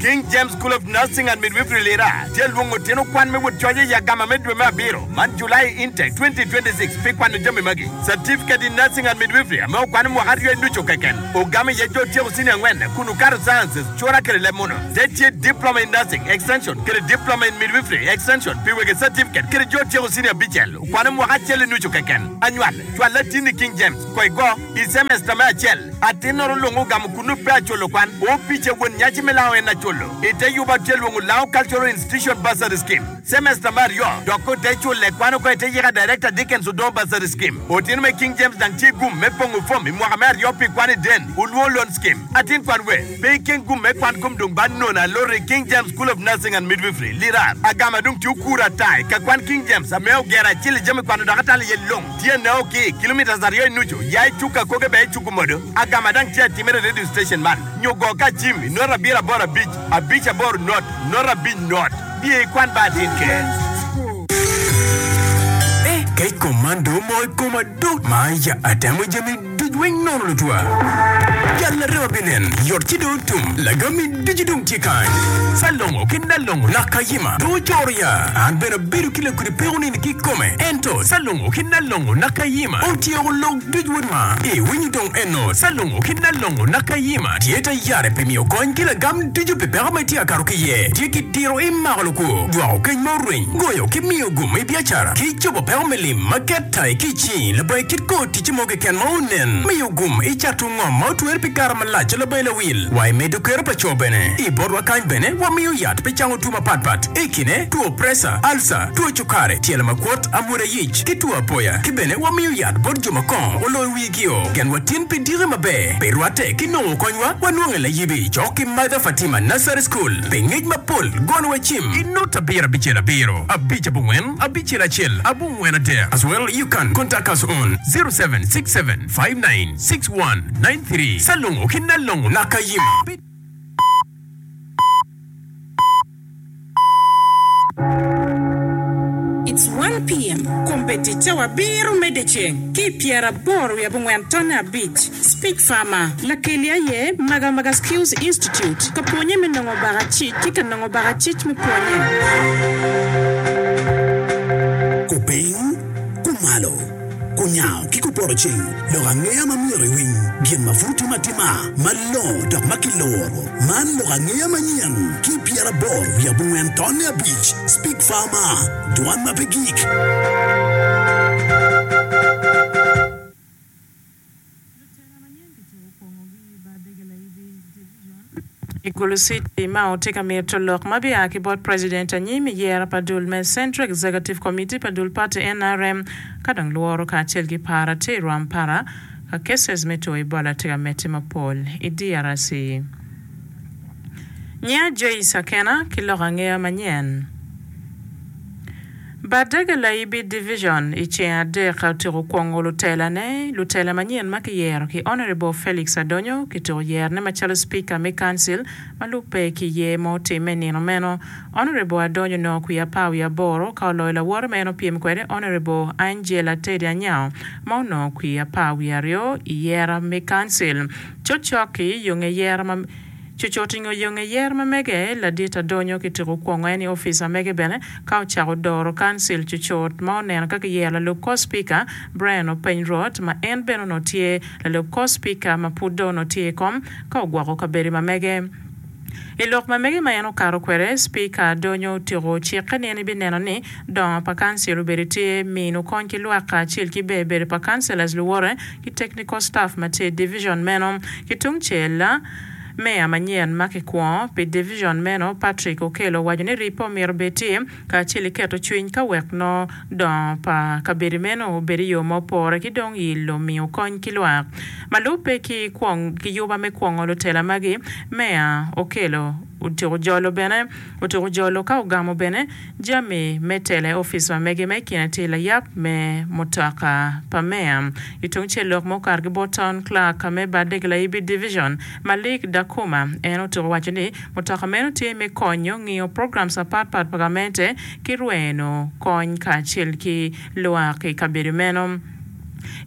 King James School of Nursing and Midwifery Lira tye lwongo tino kwan me wot coc i agama me dwe me abiro man July Intake 2026 pi kwano jami magi, Certificate in Nursing and Midwifery ame okwano mwaka aryo i nucu keken ogamo iye jo tyeko senior angwen kun okato Sciences, Cura kede leb muno. Te tye Diploma in Nursing, Extension, kede Diploma in Midwifery, Extension, pi wege certificate kede jo tyeko senior abicel okwano mwaka acel i nucu keken. Anywal, cwal latinni King James, ko igo, i semester me acel. Atin oro lwongo ogamo kunnu pe aculo kwan. Opice won nyaci me lango en aculo. Ite yub atye lwongo Lango Cultural Institution Bursary Scheme. Semester me aryo dok ko te cule kwan oko ite yika Director Dickens Odongo Bursary Scheme. Otino me King James dang tye gum me pongo fom i mwaka me aryo pi kwan i Den Olwo Loan Scheme. Atin kwan we pe ikeng gum me kwan kom dong ba nono aloro i King James School of Nursing and Midwifery, Lira. Agama dong tye okuro ata i ka kwan King James ame ogero acel i jami kwano dok atalo iye long. Tye neo ki kilometres aryo i nucu ya i cuk akoge bene i cuku modo. Agama dang tye atimere i radio station man nyo go ka cim i not abiro aboro abic abic aboro not not abic not. Biye i kwan ba atin ker. Eh kec kom man dong omoko i koma do ma ya atemo jami duc weng nono lutwa. Jal larema binen yot ci dong otum lagami ducu dong tye kany. Salongo ki Nalongo Nakayima dong ocoro ya. An bene abedo ki lakudi peko nini kikome ento Salongo ki Nalongo Nakayima otyeko lok duc wod ma. I winyo dong eno Salongo ki Nalongo Nakayima tye tayare pi miyo kony ki lagam ducu pi peko ma itye ka kato ki iye. Tye ki diro i mako lukwo, dwoko keny ma orweny, goyo ki miyo gum i biacara ki cobo peko me lim ma ket-tai ki i cingi labongo kit kor ticce mo keken ma onen. Miyo gum i cato ngom ma otwere pi kare malac labongo lawil wa i medo kero pa co bene. I botwa kany bene wamiyo yat pi cango two mapat pat, i kine, two presa, alca, two cukari, tyelo makwot, amwoda yic, ki two apoya. Ki bene wamiyo yat bot jo ma kongo oloyo wigio. Genwa tin pi diki maber. Pi rwatte ki nongo konywa, wanwonge layibi cok ki Mother Fatima Nursery School. Pi ngec mapol, gonwa cim i not abiro abicel abiro abic abongwen abicel acel abongwen adek as well you can contact us on 0767596193 Salongo ki Nalongo Nakayima. It's one PM, Kombeddi cawa abiro me dyeceng ki i pyeraboro wiye abongwen tonne abic, Speech Farmer. Lakeli aye Maga Maga Skills Institute ka pwonye me nongo bakacic ki ka nongo bakacic me pwonye. Kupiny, kumalo, kunyango ki kupoto ceng, lok angeya ma myero iwiny, gin ma pud timo atima, malongo dok ma kiluro. Man lok angeya manyen ki pyeraboro wiye abongwen tonne abic, Speak Farmer, Dwan ma pe gik. Lutela manyen kityeko kwongogi i Bardege Laibi Division i Gulu City ma otye ka mito lok ma bia ki bot President anyim i yero pa dul me Central Executive Committee pa dul party nrm ka dong lworo kacel ki par tye i rwam para ka cases me two Ebola tye ka medde mapol i DRC. Nyinga Joyce Akena ki lok angeya manyen. Bardege Laibi Division i ceng adek otyeko kwongo lutela ne, lutela manyen ma kiyero ki Honourable Felix Adonyo kityeko yerone macalo Speaker me Council ma lubbe ki yer ma otimme i nino meno. Honourable Adonyo onongo kwiye apar wiye aboro ka oloyo lawote ma en opyem kwede Honourable Angela Teddy Anyao ma onongo kwiye apar wiye aryo i yera me Council. Cokcok-ki yo nge yera ma Cucut i nge yo nge yer ma mege, ladit Adonyo kityeko kwongo en i opic ma mege bene ka ocako doro kancil cucut ma oneno ka kiyero lalub kor cipika Brian Openy Rot ma en bene onongo tye lalub kor cipika ma pud dong onongo tye i kom ka ogwoko kabedo ma mege. I lok ma mege ma en okato kwede, Cipika Adonyo otyeko cikke ni en ebineno ni dongo pa kancil obedo tye, mino kony ki lwak kacel ki ber bedo pa councillors luwote ki technical staff ma tye i division meno. Ki tungcel, Meya manyen ma kikwongo pi division meno, Patrick Okello owaco ni ribbe omyero obed tye kacel ki keto cwiny ka wek nongo dongo pa kabedo meno obed i yo ma opore ki dong ilo miyo kony ki lwak. Ma lubbe ki yuba me kwongo lutela magi, Meya Okello otyeko jolo bene otyeko jolo ka ogamo bene jami me tela i opic ma mege ma i kine tye layab me mutoka pa meya. I tung cel lok ma okato ki bot Town Clerk me Badeg Laibi Division, Malik Dakuma, en otyeko waco ni mutoka meno tye me konyo ngiyo programs mapat pat pa gamente ki rweno kony kacel ki lwak i kabedo meno.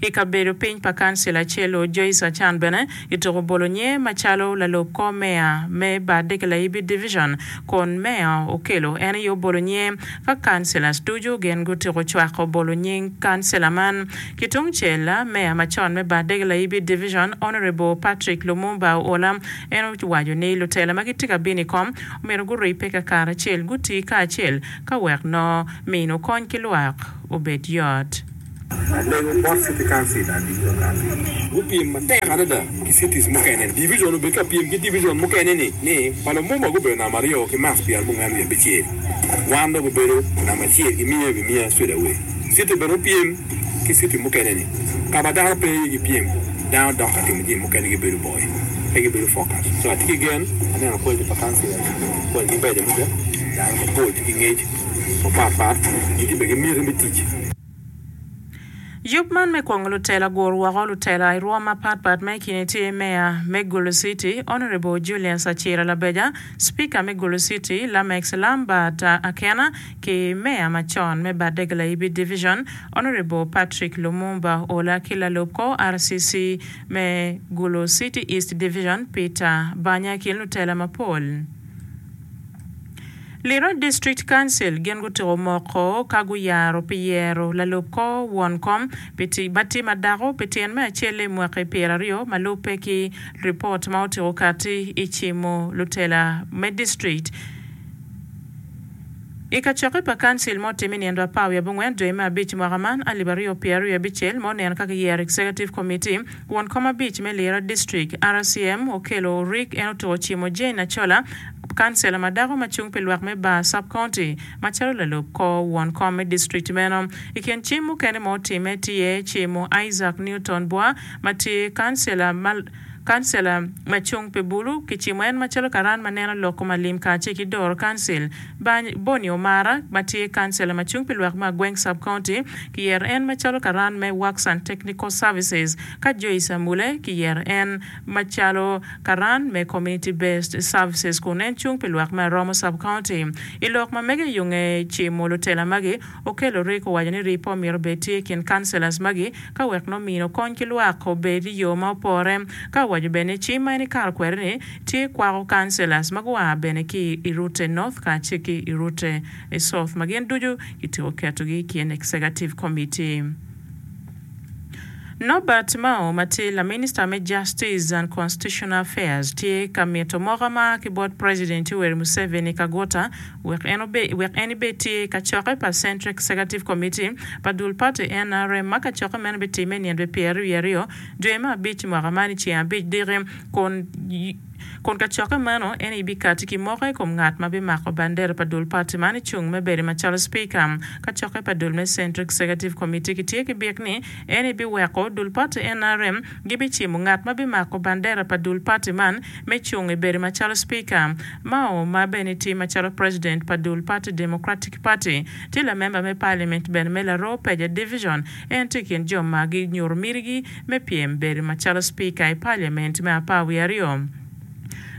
I kabedo piny pa kancil acel-lu, Joyce Achan bene kituko bolo nyinge macalo lalub kor meya me Bad Kilaibi Division kun meya Okello en aye obolo nyinge ka kancilors ducu gin gutyeko cwako bolo nying kancila man. Ki tung cel, meya macon me Bad Kilaibi Division, Honourable Patrick Lumumba Oola en owaco ni lutela ma gitye ka bino i kom omyero guribbe kakaracel guti kacel ka wek nongo mino kony ki lwak obed yot. Alego bot City Council and Division Council gupyem matek adada ki cities mukene. Division obed ka pyem ki division mukene ni ni pa Lumumba gubedo namba aryo ki marks 45. Wan dok obedo namba acel ki miya i wi miya straight away. City bene opyem ki city mukene ni ka ma dano pe iye ki pyem dano dok ka timo jami mukene gibedo boy pe gibedo focus. So atye ki gen aneno quality pa councilors quality beco mada dano mapol tye ki ngec mapat pat gitye bene ki miti me tic. Yub man me kwongo lutela gur woko lutela i rwom mapat pat ma i kine tye Meya me Gulu City, Honourable Julius Acira Labeja, Speaker me Gulu City, Lamex Lambert Akena ki Meya macon me Badeg Layibi Division, Honourable Patrick Lumumba Ola ki lalub kor RCC me Gulu City East Division, Peter Banya i kin lutela mapol. Lira District Council gin gutyeko moko ka guyaro pi yero lalub kor won kom pi tic ma tye ma dako pi tyen me acel i mwaki pyeraryo ma lubbe ki ripot ma otyeko kati i cimo lutela me district I kacokke pa kancil ma otimme i nino apar wiye abongwen dwe me abic mwaka man alip aryo pyeraryo abicel ma oneno ka kiyero Executive Committee Won kom abic me Lira District, RCM, Okello Orik en otuko cimo Jane Achola, kancela ma dako ma cung pi lwak me Bar Sub-County macalo lalub kor won kom me district meno. I kin cim mukene ma otimme tye cimo Isaac Newton Bwa ma tye kancela ma Kancela ma cung pi bulu kicimo en macalo karan ma neno lok kom alim kacel ki doro kancil. Bonny Omara ma tye kancela ma cung pi lwak me Agweng Sub County kiyero en macalo karan me Works and Technical Services ka Joyce Amule kiyero en macalo karan me Community Based Services kun en cung pi lwak me Aromo Sub County. I lok ma mege yo nge cimo lutela magi, Okello Rick owaco ni rippo myero obed tye i kin kancelas magi ka wek nongo mino kony ki lwak obed i yo ma opore. Ka owaco bene ni cim ma en ikato kwede ni tye kwako kancelas ma gua bene ki i Rute North kacel ki i Rute South ma gin ducu kityeko ketogi i kin Executive Committee. Norbert Mao ma tye laminista me Justice and Constitutional Affairs tye ka mito moka ma a ki bot President Yoweri Museveni Kaguta wek en wek en ibed tye i kacokke pa Central Executive Committee pa dul party nrm ma kacokke meno bitimme i nino pyeraryo dwe me abic mwaka man i ceng abic diki kun Kun kacokke meno, en aye bikatti ki moko i kom ngat ma bimako bandera pa dul pati man i cung me bedo macalo cipika. Kacokke pa dul me Central Executive Committee kitye ki byek ni en aye biweko dul pati nrm gibicimo ngat ma bimako bandera pa dul pati man me cung i bedo macalo cipika. Mao, ma bene tye macalo president pa dul pati Democratic Party, tye lamemba me parliament bene me Laroo Peja Division. En tye i kin jo ma ginyuto mitigi me pyem bedo macalo cipika i paliament me apar wiye aryo.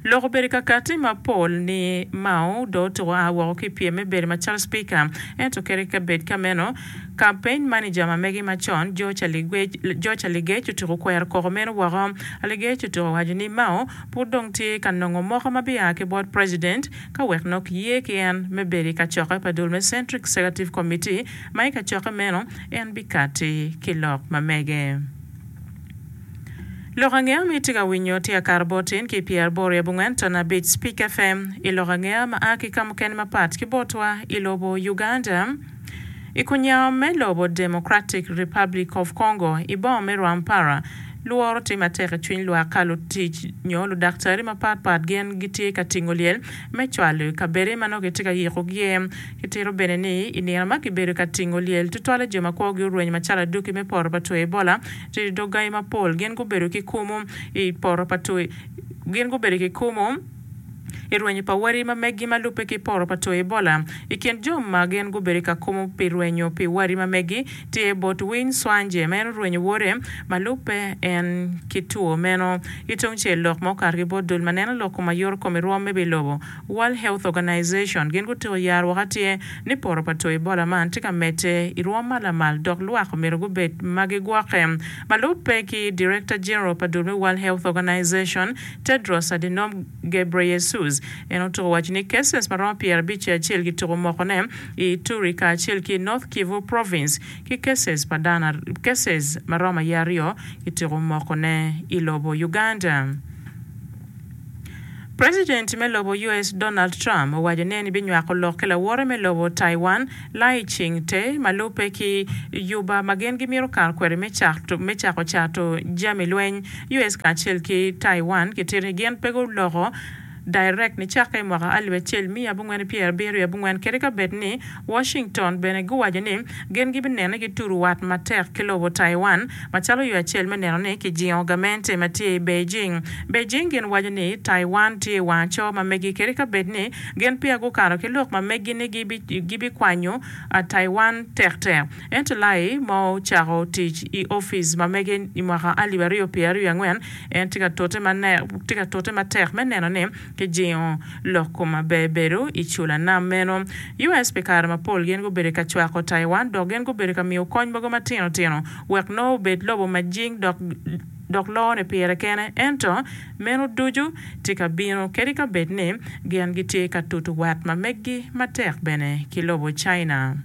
Lok obedo ka katti mapol ni Mao dong otuko a woko ki i pyem me bedo macalo cipika, ento kadi ka bed ka meno, campaign manager ma megi macon, George Aligec otuko kwero koko meno woko. Aligec otuko waco ni Mao pud dong tye ka nongo moko ma bia ki bot president ka wek nongo kiye ki en me bedo i kacokke pa dul me Central Executive Committee ma i kacokke meno en bikatti ki lok ma mege. Lok angeya ma itye ka winyo tye akato bot in ki i pyeraboro i abongwen ton abic Speak FM i lok angeya ma a ki ka mukene mapat ki botwa i lobo Uganda. I kunyango me lobo Democratic Republic of Congo i boma me Rwampara, lworo tye matek i cwiny lwak ka lutic nyo ludaktari mapat pat gin gitye ka tingo lyel me cwalo i kabede ma nongo kitye ka yikogi iye. Kitito bene ni i nino ma kibedo ka tingo lyel, tutwalle jo ma kwogi orweny macalo aduki me poto pa two Ebola, tye i dog gangi mapol gin gubedo ki kumu i poto pa two gin gubedo ki kumu. i rwenyo pa wadi ma meggi ma lubbe ki poto pa two Ebola. I kin jo ma gin gubedo ka kumo pi rwenyo pi wadi ma meggi tye Botwin Swanje ma en orwenyo wode ma lubbe en ki two meno. Ki tungcel lok ma okato ki bot dul ma neno lok kom ayoto kom i rwom me wi lobo, World Health Organization, gin gutiko yaro woko atir ni poto pa two Ebola man tye ka medde i rwom ma lamal dok lwak omyero gubed ma gigwokke. Ma lubbe ki Director General pa dul me World Health Organization, Tedros Adhanom Ghebreyesus, en otuko waco ni cases ma romo 51 kituko mokone i Ituri kacel ki i North Kivu Province ki cases pa dano cases ma romo aye aryo kituko mokone i lobo Uganda. President me lobo US Donald Trump owaco ni en ebinywako lok ki lawote me lobo Taiwan Lai Ching-te ma lubbe ki yuba ma gin gimito kato kwede me cako cato jami lweny. US kacel ki Taiwan gitito ni gin pe guloko direct nicakke i mwaka alip acel miya abongwen ki pyerabiro wiye abongwen kadi ka bed ni Washington bene guwaco ni gin gibineno ni gitudo wat matek ki lobo Taiwan macalo yo acel me neno ni kijingo gamente ma tye i Beijing. Beijing gin waco ni Taiwan tye i wang aco ma megi kadi ka bed ni gin peya gukato ki lok ma megi ni gibikwanyo Taiwan tektek. Ento Lai ma ocako tic i opic ma mege i mwaka 2024, en tye ka tute matek me neno ni kijingo lok kom maber bedo i cula nam meno. US pi kare mapol gin gubedo ka cwako Taiwan dok gin gubedo ka miyo kony mogo matino tino wek nongo obed lobo ma jing dok dok lone pire kene. Ento meno ducu tye ka bino kadi ka bed ni gin gitye ka tutu wat ma meggi matek bene ki lobo China.